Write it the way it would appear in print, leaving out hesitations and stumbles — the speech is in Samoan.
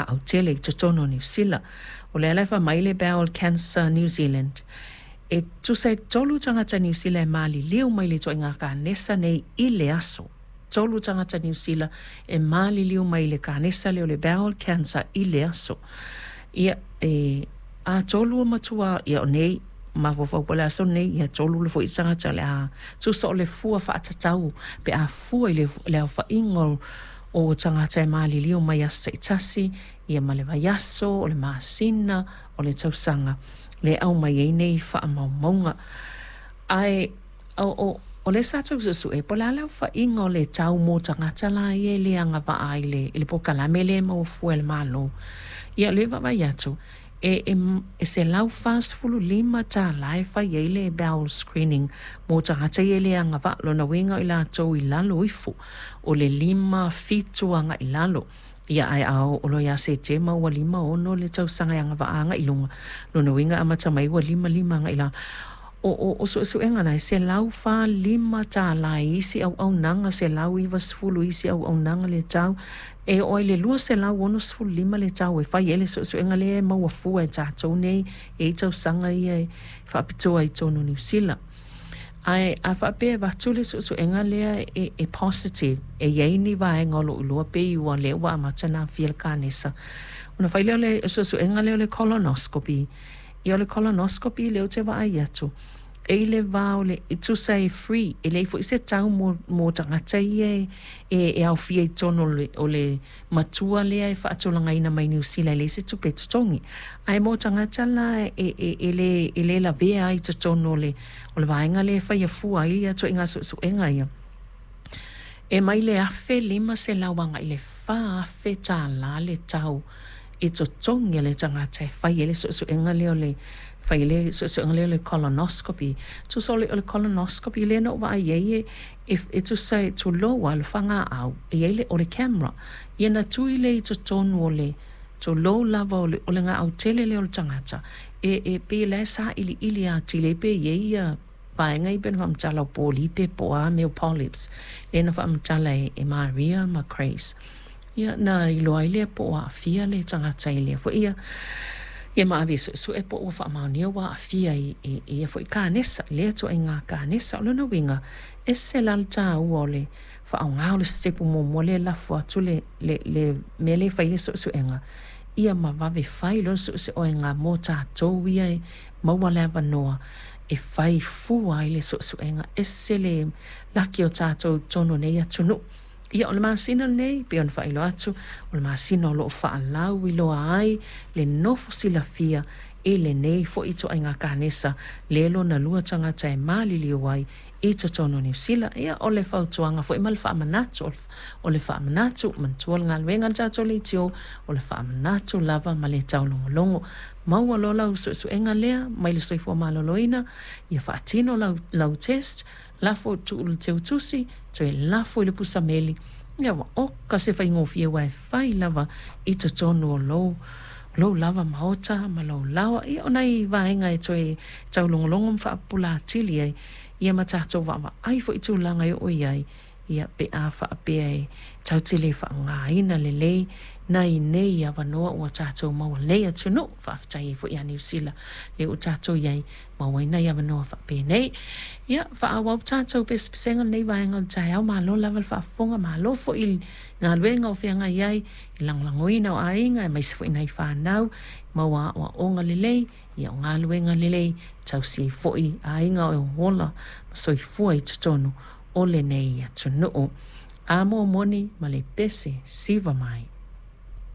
Gaʻau tele i totonu o Niu Sila. O lea la e fai mai le Bowel Cancer New Zealand, e tusa e tolu tagata Niu Sila e maliliu mai le ituaiga kanesa nei i le aso. Tolu tagata Niu Sila e maliliu mai i le kanesa lea o le bowel cancer i le aso. Ia, e atolu o matua, ia o nei, mafaufau po o le aso lenei, ia tolu foi tagata o le a tusa o le fua faatatau pe a fua i le aofaiga o tagata e maliliu mai aso taitasi, ia ma le vaiaso, o le masina, o le tausaga, lea e aumai ai nei faamaumauga. Ae o o lea sa tau suesue, po o le a le aofaiga o le tau mo tagata la ia e le agavaa i le i le polokalame lea e maua fua e le Malo. Ia o lea e vaavaai atu, e e e $145 e fai ai le bowel screening mo tagata ia e le agavaa. Lona uiga o i latou i lalo ifo o le 5 fitu agai i lalo. Ia ae a oo loa ia Setema ua 56 le tausaga e agavaa agai i luga, lona uiga e amata mai ua 55 agai i lalo. O, o, o suesuega na e $145 i isi auaunaga, $190 i isi auaunaga le tau, e oo ai i le $265 le tau e fai ai le suesuega lea e maua fua e tatou nei e i ai tausaga ia e faapitoa i totonu o Niu Sila. Ae a faapea e avatu le suesuega lea e, e positive, e i ai ni vaega o lo o iloa pei ua lea ua amata ona aafia le kanesa, ona fai lea o le suesuega lea o le colonoscopy. Ia o le colonoscopy lea ou te vaai atu, e i le va o le, e tusa e free, e leai foi se tau mo, mo tagata ia e, e, e aofia i totonu o le, o le matua lea e faatulagaina mai Niu Sila e leai se tupe e totogi. Ae mo tagata la e, e, e, le, e le lavea ai i totonu o le, o le vaega lea e faia fua ai ia ituaiga suesuega ia, e mai le $1,500 agai i le $4,000 le tau e totogi e le tagata e fai ai le suesuega lea o le fai ai le suesuega lea o le colonoscopy. Tusa o le, o le colonoscopy lea na ou vaai ai e, e, e tusa e tulou lava le fagaau, e i ai le, o le camera, ia na tui lea i totonu o le, tulou lava o le, o le gaau tele lea o le tagata, e, e pei o la e sailiili atili ai pe i ai ia vaega ia pei ona faamatala o polipe po o a mea o polyps lea na faamatala e, e Maria ma Grace. Ia, na iloa ai lea po o aafia le tagata i lea foi ia, ia ma ave e suesue po ua faamaonia ua aafia i, i, i ia foi kanesa, lea ituaiga kanesa. O lona uiga, ese la le taua o le faaaoga o le sitepu muamua lea e lafo atu le, le, le mea lea e fai ai le suesuega, ia ma vave fai loa le suesuega mo tatou ia e maua le avanoa e fai fua ai le suesuega. Ese le laki o tatou i totonu o nei atunuu. Ia, o le masina lenei, pei ona faailoa atu, o le masina o lo o faalauiloa ai le nofo silafia i lenei foi ituaiga kanesa le lona lua tagata e maliliu ai i totonu o Niu Sila. Ia, o le fautuaga foi ma le faamanatu, o le faamanatu, manatua le galuega a le tatou leitio, o le faamanatu lava ma le taulogologo. Maua loa lau suesuega lea mai le soifua maloloina, ia faatino lau, lau test, lafo tuu i le teutusi, toe lafo i le pusa meli, ia ua oka se faigofie aua e fai lava i totonu o lou lou lava maota ma lou laoa. Ia o nai vaega e toe taulogologo ma faapupula atili ai, ia ma tatou vaavaai foi i tulaga e oo i ai, ia pe a faapea e tatou te le faaaogaina lelei nai nei avanoa ua tatou maua nei atunuu. Faafetai ai foi ia Niu Sila lea ua tatou i ai maua ai nai avanoa faapenei. Ia, faaauau tatou pesepesega lenei vaega o le taeao. Malo lava le faafofoga, malo foi i galuega o feagai ai, i lagolagoina o aiga, aemaise foi nai fanau, maua aoaoga lelei, ia o galuega lelei, tausi ai foi aiga o ola ma soifua i totonu o lenei atunuu. A mo moni ma le pese siva mai.